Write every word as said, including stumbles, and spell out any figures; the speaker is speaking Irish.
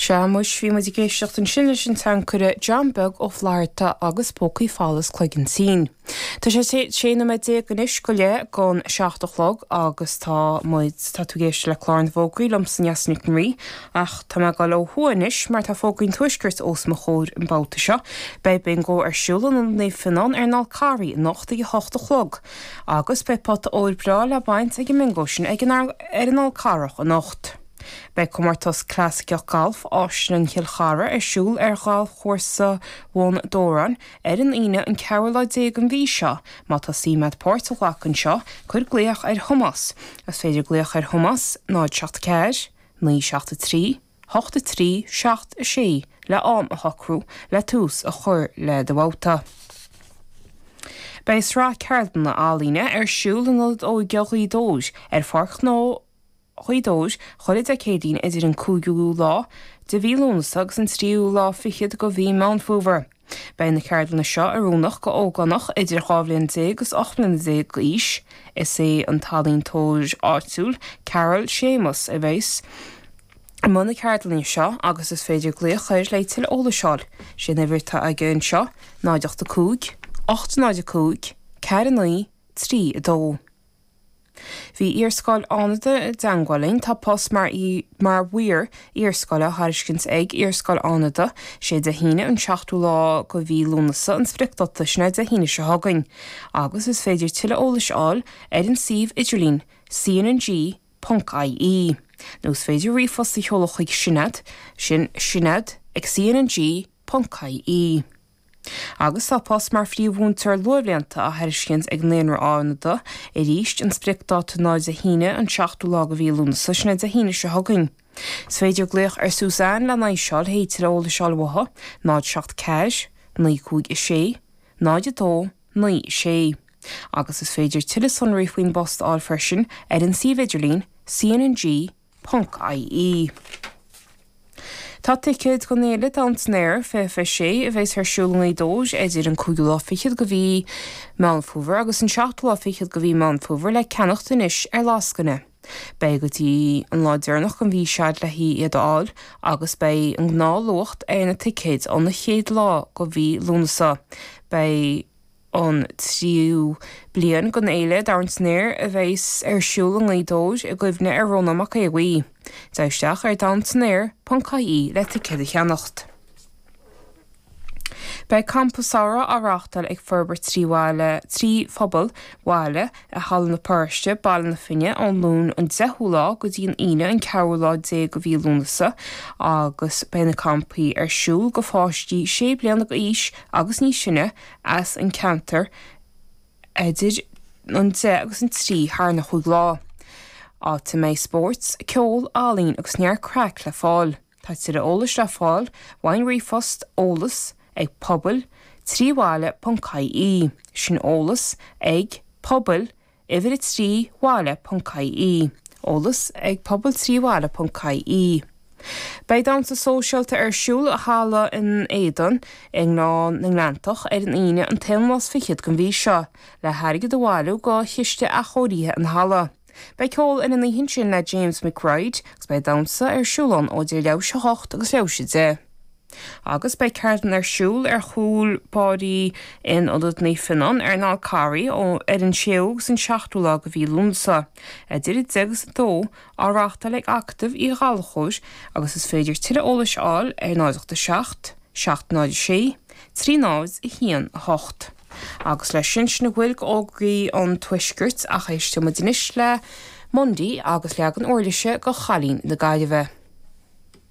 Sea, muis, bhí muid ag éisteacht ansin leis an tseanchaire John Beag Ó Flatharta agus Pócaí Folamh is Cloigeann Tinn. Tá sé sé nóiméad déag anois go leith don seacht a chlog agus tá muid tá tú ag éisteacht le clár na bhfógraí liomsa Neasa Nic an Rí ach tá mé ag dul ó thuaidh anois mar tá fógraí an Tuaiscirt os mo chomhair an babhta seo. Beidh bingo ar siúl in Ionad Naomh Fionnán ar an Fhál Carraigh anocht ag a hocht a chlog agus beidh pota óir breá le baint ag an mbingo sin ag an ar an Fhál Carrach anocht. Beidh comórtas clasaiceach galf Áislann Chill Chartha ar siúl ar ghalfchúrsa Bhun Dobhráin ar an Aoine an ceathrú lá déag den mhí seo. Má tá suim agat páirt a ghlacadh anseo, cuir glaoch ar Thomás. Is féidir glaoch ar Thomás náid seacht ceathair, naoi seacht a trí, hocht a trí, seacht a sé le am a shocrú le tús a chur le do bhabhta. Beidh sraith ceardlanna ealaíne ar siúl in Ionad Óige Ghaoth Dobhair ar Pháirc Ghnó Ghaoth Dobhair chuile Dé Céadaoin idir an cúigiú lá de mhí Lúnasa agus an tríú lá fichead de mhí Meán Fómhair. Beidh na ceardlanna seo oiriúnach go ógánach idir dhá bhliain déag agus ocht mbliana déag d'aois. Is é an t-ealaíontóir áitiúil Carol Séamus a bheas i mbun na ceardlainne seo agus is féidir glaoch air le tuilleadh eolais a fháil. Sé an uimhir atá aige anseo náid ocht a cúig, ocht náid a cúig, ceathair a naoi, trí a dó. Bhí Iarscoil Fhánada i dteagmháil linn, tá post mar í mar mhaor iarscoile á thairiscint ag Iarscoil Fhánada, sé Dé hAoine an seachtú lá de mhí Lúnasa an spriocdháta sin é Dé hAoine seo chugainn. Agus is féidir tuilleadh eolais a fháil ar an suíomh idirlín cnng ponc ie. Nó is féidir ríomhphost a sheoladh chuig Sinéad, sin sinéad ag cnng ponc ie. Agus tá post mar phríomh-mhúinteoir luathbhlianta á thairiscint ag Naíonra Fhánada, arís an spriocdháta ná Dé hAoine an seachtú lá de mhí Lúnasa, sin é Dé hAoine seo chugainn. Is féidir glaoch ar Suzanne lena aghaidh seo le tuilleadh eolais a fháil uaithi, náid seacht ceathair, naoi cúig a sé, náid a dó, naoi sé. Agus is féidir tuilleadh sonraí faoin bpost a fháil freisin ar an suíomh idirlín cnng ponc ie. Tá ticéid don fhéile Down san Aer fiche fiche sé a bheas ar siúl i nGaoth Dobhair idir an cúigiú lá fichead de mhí Meán Fómhair agus an seachtú lá fichead de mhí Meán Fómhair le ceannacht anois ar lascaine. Beidh go dtí an lá deireanach den mhí seo le hiad a fháil agus beidh an gnáthluach ar na ticéid ón chéad lá de mhí Lúnasa. Beidh an tríú bliain den fhéile Down san Aer a bheas ar siúl i nGaoth Dobhair i gcuimhne ar Rónán Mac Aodha Bhuí. Téigh isteach ar downsanair ponc ie le ticéad a cheannacht. Beidh campa samhraidh á reáchtáil ag Forbairt trí bhaile trí phobal bhaile i Halla na Paróiste, Baile na Finne ón Luan an deichiú lá go dtí an Aoine an ceathrú lá déag de mhí Lúnasa agus beidh na campaí ar siúl do pháistí sé bliana d'aois agus níos sine as an ceantar idir an deich agus an trí thar na chúig lá. Áit a mbeidh spórt, ceol, ealaín agus neart craic le fáil. Tá tuilleadh eolais le fáil ón ríomhphost eolas ag pobal trí bhaile ponc ie, sin eolas ag pobal uimhir a trí bhaile ponc ie, eolas ag pobal trí bhaile ponc ie. Beidh damhsa sóisialta ar siúl i halla an Éadain i nGleann na nGleanntach ar an Aoine an t-aonú lá is fichead den mhí seo, le hairgead a bhailiú do chiste athchóirithe an halla. Beidh ceol ar an oíche sin le James McBride agus beidh damhsa ar siúl ann ó idir leathuair théis a hocht agus leathuair théis a deich. Agus beidh ceardlann ar siúl ar chúl báirí in Ionad Naomh Fionnán ar an Fhál Carraigh ó ar an séú agus an seachtú lá de mhí Lúnasa, idir a deich agus a dó á reáchtáil ag Acadamh Uí Ghallchóir agus is féidir tuilleadh eolais a fháil ar náid ocht a seacht, seacht náid a sé, trí náid a haon a hocht. Agus leis sin sin a bhfuil d'fhógraí an Tuaiscirt ach éistfidh muid anois le Mundy agus leagan uirlise de Chailín na Gaillimhe.